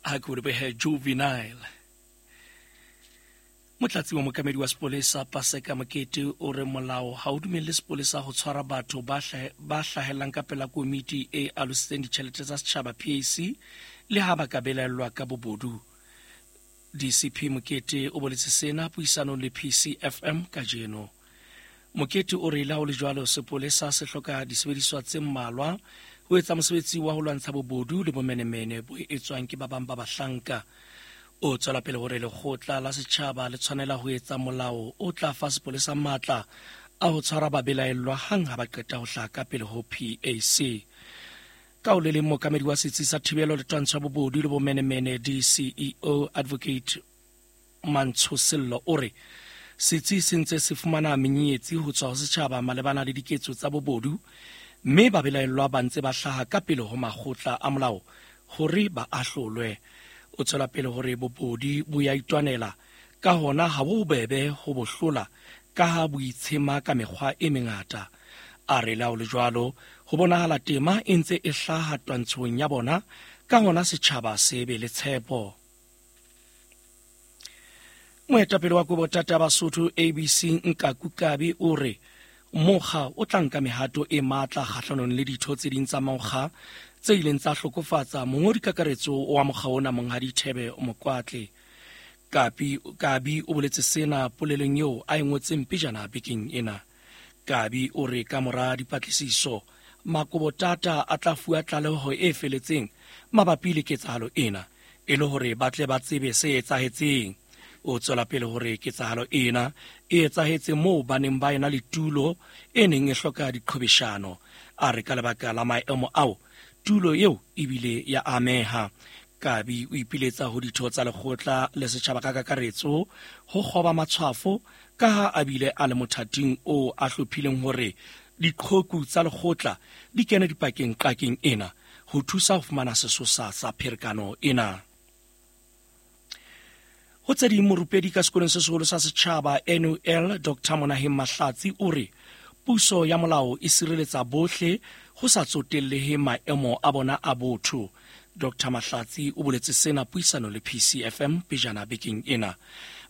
Ha ke o lebohe Juvenile. Motlatsi wa mokamedi wa sepolesa Paseka Mokete o re molao ha o dumelle sepolesa ho tshwara batho ba hlahellang ka pela komiti e alositseng ditjhelete tsa setjhaba PAC le ha ba ka belaellwa ka bobodu. DCP Mokete o boletse sena puisanong le PCFM kajeno. Mokete o re le ha ho le jwalo sepolesa se hloka disebediswa tse mmalwa ho etsa mosebetsi wa ho lwantsha bobodu le bomenemene bo etswang ke ba bang ba bahlanka. O tswela pele hore lekgotla la setjhaba le tshwanela ho etsa molao o tla fa sepolesa matla a ho tshwara babelaellwa hang ha ba qeta ho hlaha ka pele ho PAC. Ka ho le leng mookamedi wa setsi sa thibelo le twantsho ya bobodu le bomenemene DCEO Advocate Mantsho Sello o re setsi se ntse se fumana menyenyetsi ho tswa ho setjhaba malebana le diketso tsa bobodu mme babelaellwa ba ntse ba hlaha ka pele ho makgotla a molao hore ba ahlolwe. O tswela pele hore bobodi bo ya itwanela ka hona ha bo bobebe ho bo hlola ka ha bo itshema ka mekgwa e mengata. A re le ha ho le jwalo ho bonahala tema e ntse e hlaha twantshong ya bona ka hona setjhaba se be le tshepo. Moetapele wa Kobotata Basotho ABC Nkaku Kabi o re mokga o tla nka mehato e matla kgahlanong le ditho tse ding tsa mokga tse ileng tsa hlokofatsa mongodi kakaretso wa mokga ona Monghadi Thebe Mokwatle. Kapi Kabi o boletse sena polelong eo a e ngotseng pejana bekeng ena. Kabi o re ka mora dipatlisiso Makobotata a tla fuwa tlaleho e feletseng mabapi le ketsahalo ena e le hore ba tle ba tsebe se etsahetseng. O tswela pele hore ketsahalo ena e etsahetse moo ba neng ba ena le tulo e neng e hloka diqhobeshano. A re ka lebaka la maemo ao tulo eo ebile ya ameha. Kabi o ipiletsa ho ditho tsa lekgotla le setjhaba ka kakaretso ho kgoba matshwafo ka ha a bile a le mothating o a hlophileng hore diqhoku tsa lekgotla di kene dipakeng qakeng ena ho thusa ho fumana sesosa sa pherekano ena. Ho tse ding, morupedi ka sekolong se seholo sa setjhaba NUL Dr Monaheng Mahlatsi o re puso ya molao e sireletsa bohle ho sa tsotellehe maemo a bona a botho. Dr Mahlatsi o boletse sena puisano le PCFM pejana bekeng ena.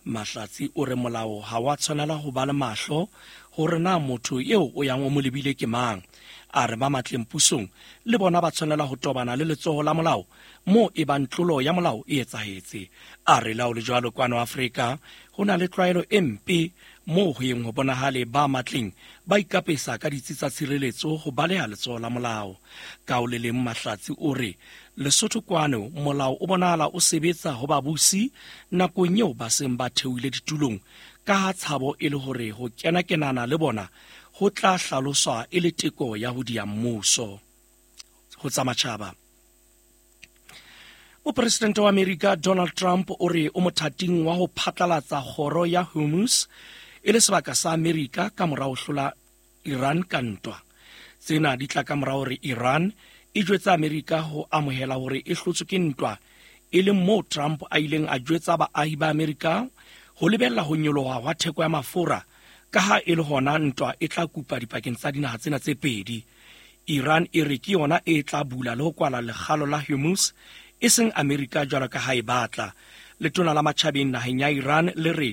Mahlatsi o re molao ha wa tshwanela ho ba le mahlo hore na motho eo o yang o mo lebile ke mang. A re ba matleng pusong le bona ba tshwanela ho tobana le letsoho la molao moo e bang tlolo ya molao e etsahetse. A re lao le jwalo kwano Afrika ho na le tlwaelo e mpe moo ho yeng ho bonahale ba matleng ba ikapesa ka ditsi tsa tshireletso ho baleha letsoho la molao. Ka ho le leng Mahlatsi o re Lesotho kwano molao o bonahala o sebetsa ho babusi nakong eo ba seng ba theohile ditulong ka ha tshabo e le hore ho kena-kenana le bona ho tla hlaloswa e le teko ya ho dia mmuso. Ho tsa matjhaba. Mopresidente wa Amerika Donald Trump o re o mothating wa ho phatlalatsa kgoro ya Hormuz e le sebaka sa Amerika ka mora ho hlola Iran ka ntwa. Tsena di tla ka mora hore Iran e jwetsa Amerika ho amohela hore e hlotswe ke ntwa, e leng moo Trump a ileng a jwetsa baahi ba Amerika ho lebella ho nyoloha hwa theko ya mafura ka ha e le hona ntwa e tla kupa dipakeng tsa dinaha tsena tse pedi. Iran e re ke yona e tla bula le ho kwala lekgalo la Hormuz e seng Amerika jwalo ka ha e batla. Letona la matjhabeng naheng ya Iran le re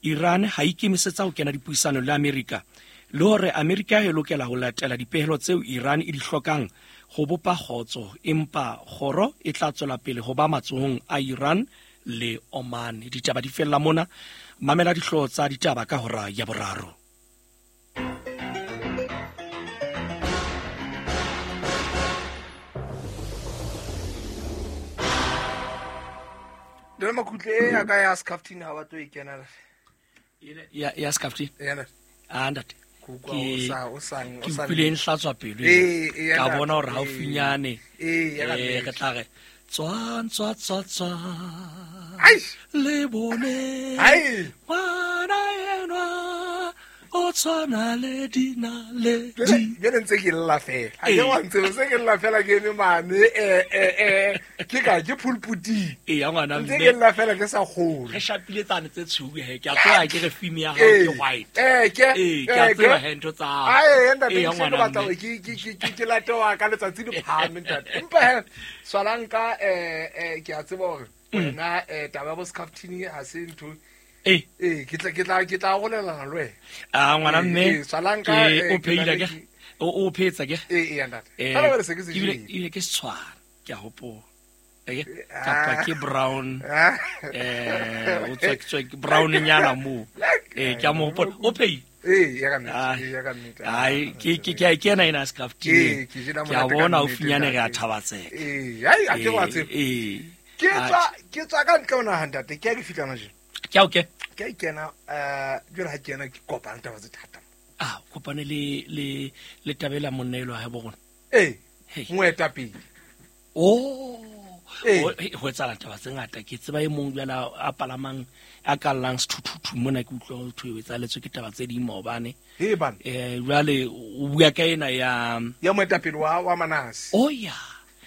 Iran ha ikemisetsa ho kena dipuisanong le Amerika le hore Amerika e lokela ho latela dipehelo tseo Iran e di hlokang ho bopa kgotso, empa kgoro e tla tswela pele ho ba matsohong a Iran le Oman. Ditaba di fella mona. Mamela dihlooho tsa ditaba ka hora ya boraro. Dona Makhutle e ya ka ya Scaftini ha ba tlo e kena. Ya Scaftini? Ya. Ah ntate. Ke Ke utlwile e nhlatswa pelo ka bona hore haufinyane re tla re tswang tswa tswa tswa le bone ngwana enwa. O tshwana le dinaledi. Jwale ntse ke lla fela. Ha ke wa ntse se ke lla fela ke eme mane ke ka ke pulputing. Eya ngwana mme. Ntse ke lla fela ke sa kgolwe. Re shapile tsane tse tshweu he. Ke a tseba ke re fimi ya hao ke white. Ke ke a tseba he ntho tsa hao. Ae ntate ke batla hore ke late wa ka letsatsi le phahame ntate. Empa he swalanka ke a tseba hore wena taba ya bo Scaftini ha se ntho. Ke tla golelana le wena. A ngwana mme swalanka o pheila ke o phetsa ke ntate. Fela ba se ke se ile ke tshwana ke a hopola. Kapa ke brown o tswa ke brown nyana mo ke a mo hopola o phei ya ka nnete ya ka nnete. Ai ke ena ena Scaftini ke a bona o finyane re a thabatseka. Ai a ke wa tseba. Ke tswa ka ntle ona ntate ke a ke fitla manje. Ke a okay. Ke kena jwale ha ke ena ke kopana taba tse thata. Ah kopane le tabela monna elo ha bo rona. Moetapele. Oh ho etsahala taba tse ngata ke tseba e mong jwale a palamang a kallang sethuthuthu mona ke utlwa ho thwe etsaletswe ke taba tse ding maobane. Jwale o bua ka ena ya moetapele wa Manase. Oh ya.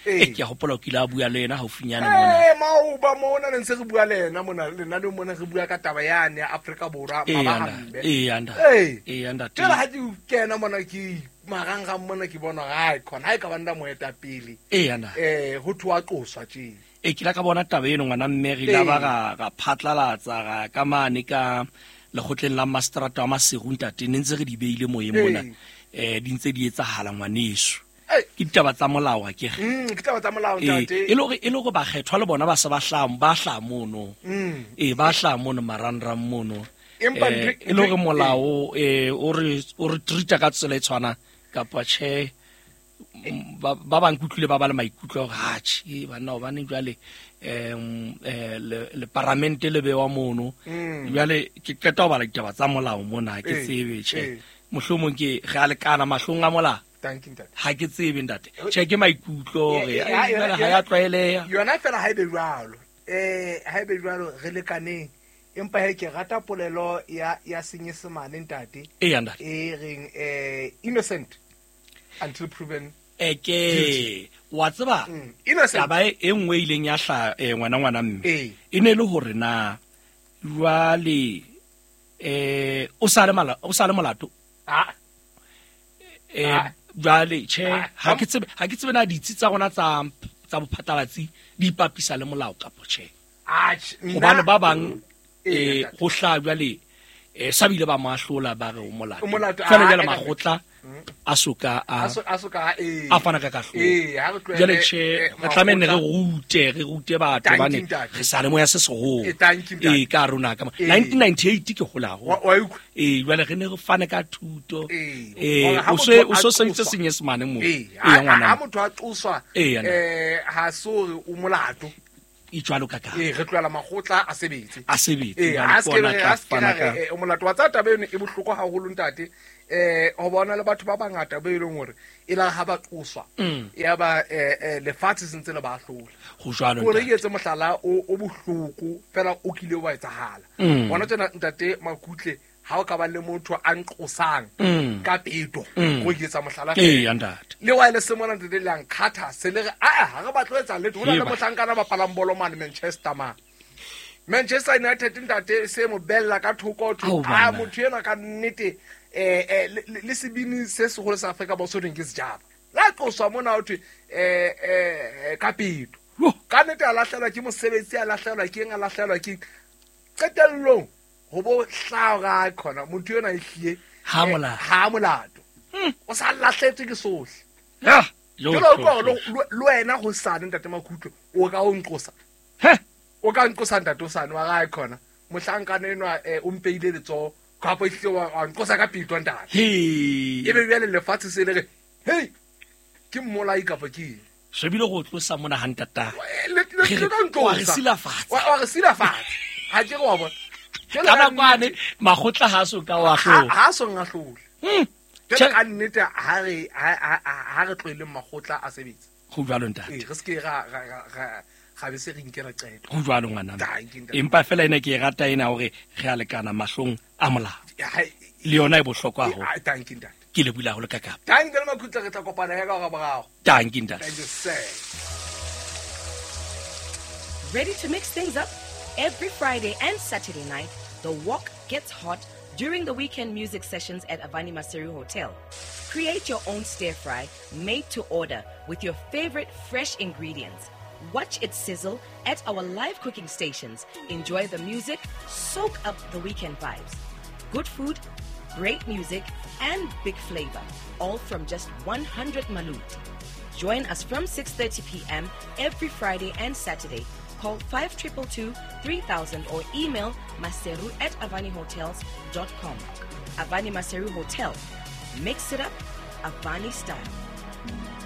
Ke a hopola o kile a bua le yena haufinyane mona. Maoba mona ne ntse re bua le yena mona lena le mona re bua ka taba yane ya Afrika Borwa mabahambe. Ntate. Jwale ha ke kena mona ke marangrang mona ke bona ha khona ha e ka ba nda moetapele. Ho thwa qoswa tje. Ke la ka bona taba eno ngwana mme re la ba ga phatlalatsa ga ka mane ka lekgotleng la mastrata wa Maseru ntate ne ntse re di beile moyeng mona. Di ntse di etsahala ngwaneso. Ke ditaba tsa molao ke re. Ke ditaba tsa molao ntate. E le hore bakgethwa le bona ba se ba hla mono. Ba hla mono marangrang mono. Empa e le hore molao o re treat-a ka tsela e tshwana kapa tjhe ba bang kutlwile ba ba le maikutlo hore ha tjhe banna hobane jwale le paramente le bewa mono. Jwale ke qeta ho bala ditaba tsa molao mona ke tsebe tjhe. Mohlomong ke re a lekana mahlong a molao. Ha ke tsebe ntate. Tjhe ke maikutlo hore ha ya tlwaeleha. Yona fela ha ebe jwalo. Ha ebe jwalo re lekaneng. Empa he ke rata polelo ya Senyesemane ntate. Ntate. E reng innocent until proven guilty. Wa tseba? Innocent. Taba e nngwe ileng ya hla ngwana mme. E ne le hore na jwale o sa le molato. Jwale tjhe ha ke tsebe na ditsi tsa rona tsa bophatlalatsi di ipapisa le molao kapa tjhe. Hobane ba bang ho hla jwale sa bile ba mahlola ba re o molato. Fela jwale makgotla a soka a fana ka kahlolo. Jwale tjhe re tlameha re rute batho bane re sa le moya se seholo. Ka rona ka 1998 ke hola ho. Jwale re ne re fane ka thuto. O so sentse Senyesemane mo. Ngwana. Ha motho a qoswa ha so re o molato. E jwalo ka ka. Re tlohela makgotla a sebetse. A sebetse. A se ke o molato wa tsa taba eno e bohloko haholo ntate. Ho bona le batho ba bangata ba eleng hore e la ha ba qoswa ya ba lefatshe sentse le ba hlola. Ho jwalo. Hore ke etse mohlala o bohloko fela o kile wa etsahala. Bona tsena ntate Makutle ha o ka ba le motho a nqosang ka peto go ke etsa mohlala ntate. Le wa le se mona ntate le ang khatha se le re a ha re batlo etsa letho hona le mohlankana ba palang bolo mane Manchester ma. Manchester United ntate se mo bella ka thoko thoko a motho ena ka nnete le sebini se seholo sa Afrika Borwa so reng ke sejaba. La qoswa mona ho thwe ka peto. Ka nnete a lahlelwa ke mosebetsi a lahlelwa ke eng a lahlelwa ke qetellong ho bo hlaga khona motho yona e hlie ha molato o sa lahletswe ke sohle. Ya jalo le wena ho sane ntate Makhutlo o ka o nqosa. O ka nqosa ntate o sane wa ga khona mohlankana enwa o mpeile letsoho kapa ehlile wa nqosa ka peto ntate. E be bjale lefatshe se le re hey ke mmolai kapa ke shebile go tlosa mona ha ntata. Wa re silafatsa. Wa re silafatsa. Ha ke re wa bona. Ka nakwane makgotla ha so ka wa hlola. Ha so ngahlola. Jwale ka nnete ha re tlohele makgotla a sebetse. Ho jwalo ntate. Re se ke ra be se re nkela qeto. Ho jwalo ngwana. Empa fela ena ke e rata ena hore re a lekana mahlong a molao. Le yona e bohlokwa haholo. Ah, thank you ntate. Ke lebohile haholo ka kapa. Thank you le Makhutla, re tla kopana ya ka hora boraro. Thank you ntate. Thank you sir. Ready to mix things up? Every Friday and Saturday night, the walk gets hot during the weekend music sessions at Avani Maseru Hotel. Create your own stir fry made to order with your favorite fresh ingredients. Watch it sizzle at our live cooking stations. Enjoy the music, soak up the weekend vibes. Good food, great music, and big flavor, all from just 100 Malut. Join us from 6:30 p.m. every Friday and Saturday. Call 5222 3000 or email maseru@avanihotels.com. Avani Maseru Hotel. Mix it up, Avani style.